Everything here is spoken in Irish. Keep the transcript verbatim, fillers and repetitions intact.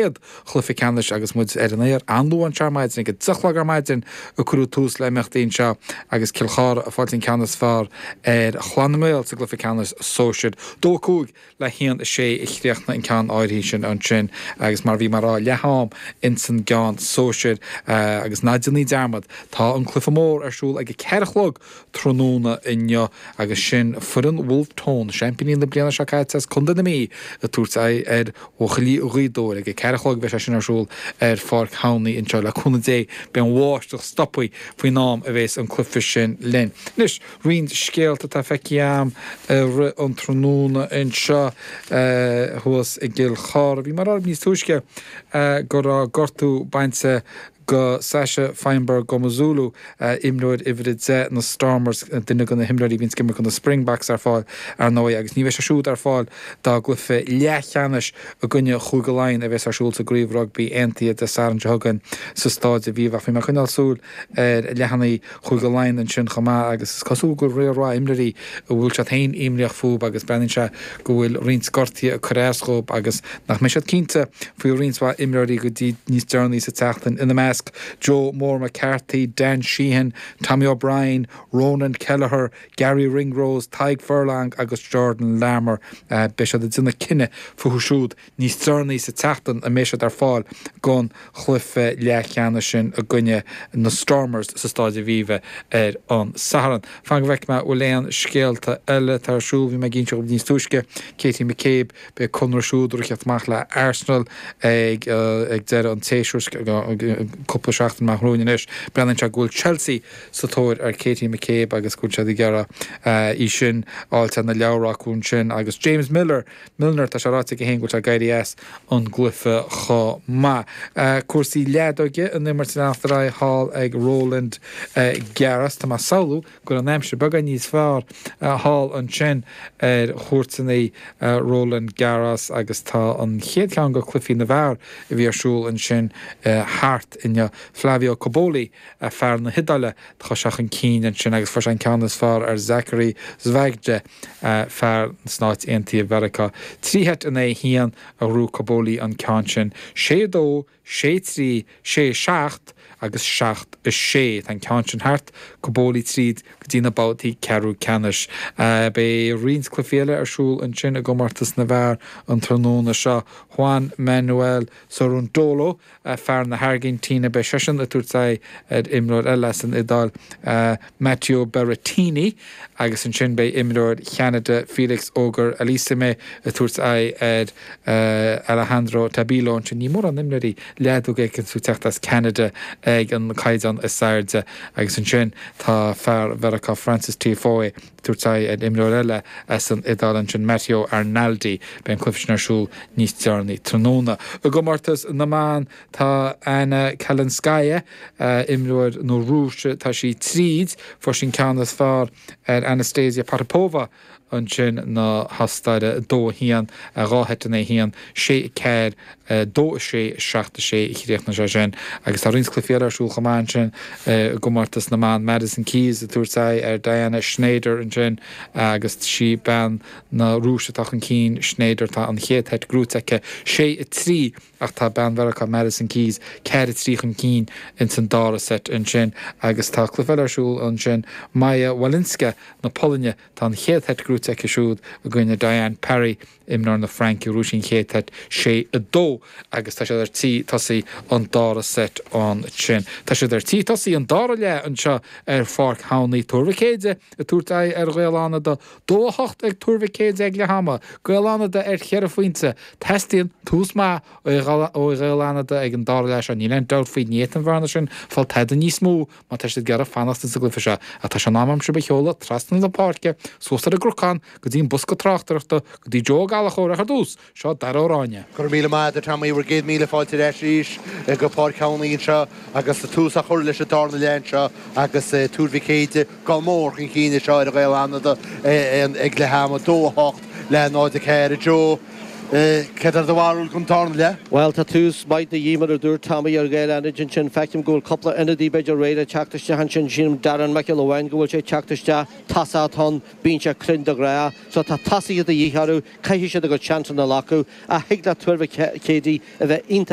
chéad chluiche ceannais agus muid ar an aer an-luath anseo ar maidin, ag a deich a chlog ar maidin a cuireadh tús le himeachtaí anseo agus Cill Chartha ag fáilt an ceann is fearr ar Chlann na nGael sa gcluiche ceannais sóisir. Dó a cúig le haon a sé a chríochnaigh an ceann áirithe sin ansin agus mar a bhí mé a rá leath am ins an gceann sóisir agus ná déanaí dearmad tá an cluiche mór ar siúl ag a ceathair a chlog tráthnóna inniu agus sin foireann Wolfe Tone, seaimpíní na bliana seo caite as Contae na Mí ag tabhairt aghaidh ar bhuachaillí Ghaoth Dobhair. Ag a ceathair a chlog beidh sé sin ar siúl ar Pháirc Thomhney anseo. Le cúnamh Dé beidh an bháisteach stoptha faoin am a bheas an cluiche sin linn. Anois, roinnt scéalta atá feicthe agam i rith an tráthnóna anseo thuas i gCill Chartha. Bhí mé a rá níos túisce go raibh gortú bainte go Sacha Feinberg-Mngomezulu, imreoir uimhir a deich na Stormers, duine de na himreoirí a bhíonns ag imirt do na Springboks ar fáil, ar ndóigh, agus ní bheidh sé siúd ar fáil dá gcluiche leathcheannais i gcoinne Chúige Laighean a bheas ar siúl sa gCraobh Rugbaí Aontaithe Dé Sathairn seo chugainn sa Stáid Aviva. Ach bhí mé ag coinneáil súil ar leathanaigh Chúige Laighean ansin chomh maith agus is cosúil go bhfuil riar mhaith imreoirí a bhfuil siad féin imníoch fúb agus breathnaíonn sé go bhfuil roinnt gortuithe ag cur as dhób agus nach mbeidh siad cinnte faoi roinnt mhaith imreoirí go dtí níos deireanaí sa tseachtain, ina measc Joe Mór McCarthy, Dan Sheehan, Tommy O'Brien, Ronan Kelleher, Garry Ringrose, Tadhg Furlong agus Jordan Larmour. Beidh siad ag déanamh cinneadh fúthu siúd níos deireanaí sa tseachtain an mbeidh siad ar fáil don chluiche leathcheannais sin i gcoinne na Stormers sa Stáid Aviva ar an Satharn. Fan go bhfeicfidh mé an bhfuil aon scéalta eile atá ar siúl. Bhí mé ag inse dhaoibh níos túisce, Katie McCabe, beidh conradh siúd ag teacht amach le Arsenal ag ag deireadh an tséasúir, cúpla seachtain amach romhainn anois. Breathnaíonn sé go bhfuil Chelsea sa tóir ar Katie McCabe agus go bhfuil siad ag iarraidh í sin a fháilt ar na leabhra acu ansin. Agus James Miller, Milner, tá sé ráite aige féin go bhfuil sé ag éirí as an gcluiche chomh maith. Cúrsaí leadóige, an imirt ag leanacht ar aghaidh thall ag Roland Garros. Tá mé ag samhlú go bhfuil an aimsir beagán níos fearr thall ansin ar chúirteanna Roland Garros agus tá an chéad cheann de chluichí na bhfear a bhí ar siúl ansin thart inniu. Flavio Cobolli, fear na hIodáile, tá sé chun cinn ansin agus fuair sé an ceann is fearr ar Zachary Svajda, fear na Stáit Aontaithe Mheiriceá. Trí sheit in aghaidh a haon a ghnóthaigh Cobolli an ceann sin. Sé a dó, sé trí, sé seacht agus seacht a sé. Tá an ceann sin thart, Cobolli tríd go dtí na babhtaí ceathrú ceannais. Beidh roinnt cluichí eile ar siúl ansin i gcomórtas na bhfear an tráthnóna seo. Juan Manuel Cerundolo, fear na hAirgintíne, beidh seisean ag tabhairt aghaidh ar imreoir eile as an Iodáil, Matteo Berrettini, agus ansin beidh imreoir Cheanada, Felix Auger-Aliassime, ag tabhairt aghaidh ar Alejandro Tabilo ansin. Ní mórán imreoirí leadóige ag teacht as Ceanada ag an caighdeán is airde agus ansin tá fear Mheiriceá Frances Tiafoe ag tabhairt aghaidh ar imreoir eile as an Iodáil ansin, Matteo Arnaldi. Beidh an cluiche sin ar siúl níos deireanaí tráthnóna. I gcomórtas na mban tá Anna Kalinskaya, imreoir na Rúise, tá sí tríd, fuair sí an ceann is fearr ar Anastasia Potapova ansin na hOstaire, dó a haon, dhá sheit in aghaidh a haon, sé a ceathair, dó a sé, seacht a sé a chríochnaigh sé sin. Agus tá roinnt cluichí eile ar siúl chomh maith ansin i gcomórtas na mban, Madison Keys ag tabhairt aghaidh ar Diana Shnaider ansin agus sí bean na Rúise atá chun cinn, Shnaider, tá an chéad sheit gnóite aici, sé a trí, ach tá bean Mheiriceá Madison Keys ceathair a trí chun cinn ins an dara seit ansin. Agus tá cluiche eile ar siúl ansin, Maja Walinska na Polainne, tá an chéad sheit gnóite aici siúd i gcoinne Diane Parry, imreoir na Fraince, ghnóthaigh sí an chéad sheit sé a dó agus tá siad ar tí tosaí an dara seit ansin. Tá siad ar tí tosaí an dara leath anseo ar Pháirc Thomhney, Tuar Mhic Éide ag tabhairt aghaidh ar Ghaeil Fhánada, dó a hocht ag Tuar Mhic Éide ag leath ama, Gaeil Fhánada ar cheithre phointe. Teastaíonn tús maith ó Ghaeil Fhánada ag an dara leath seo, níl aon dabht faoi, ní fhéadfaidh an bhearna sin fáil tada níos mó má tá siad ag iarraidh fanacht ins an gcluiche seo. Ach tá sé in am agam sibh a sheoladh trasna na páirce, suas ar an gcnocán, go dtí an bosca tráchtaireachta, go dtí Joe Ó Gallchóir ach ar dtús, seo Dara Ó Ráinne. Go raibh míle maith agat a Tommy, bhur gcéad míle fáilte ar ais arís go Páirc Thomhney anseo agus tús á chur leis an darna leath anseo agus Tuar Mhic Éide go mór chun cinn anseo ar Ghaeil Fhánada ag leath ama, dó a hocht le náid a ceathair. A Joe, Céard é do bharúil don darna leath? Well tá tús maith de dhíth mar a dúirt Tommy ar Ghaeil Fhánaid ansin feicim go bhfuil cúpla ionadaí b'fhéidir réidh le teacht isteach ansin sílim Darren Michael amháin go bhfuil sé teacht isteach tosach ann bíonn sé cruinn de ghnáth so tá tosaithe de dhíth orthu caithfidh siad a gcuid seansanna a ghlacadh ach thig le Tuar Mhic Éadaigh a bheith iontach